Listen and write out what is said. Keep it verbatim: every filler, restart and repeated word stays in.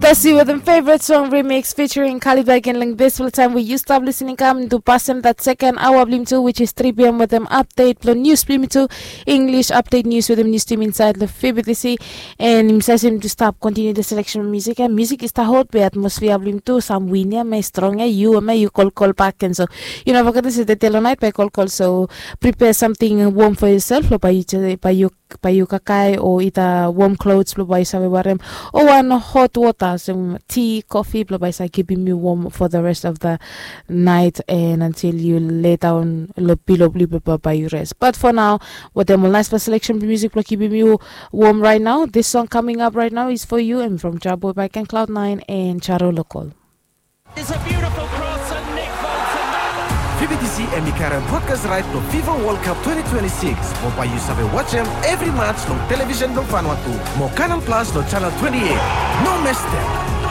Bless you with a favorite song remix featuring Kalibagen. Long this full time we you stop listening come to pass him that second hour blim too, which is three p.m. with him update lo news blim too, English update news with him news team inside the F B T C. And him says him to stop continue the selection of music and music is the hot way atmosphere blim too. Some win ya may strong ya you may you call call back and so you know forget this is the tell night by call call. So prepare something warm for yourself lo by you by you by you kakai or either warm clothes lo by you save warem or one hot water, some tea, coffee blo by sa keeping you warm for the rest of the night and until you lay down lo pillow blo by you rest. But for now, with them last for selection music blo keeping you warm right now. This song coming up right now is for you and from Jabo by Ken Cloud Nine and Charo Local. It's a beautiful cross and Nick Bolton. F B T C hemi karem broadcast right lo FIFA World Cup twenty twenty-six. Mo by you save watch em every match long television lo Vanuatu. Mo Canal Plus lo channel twenty-eight. No mistake.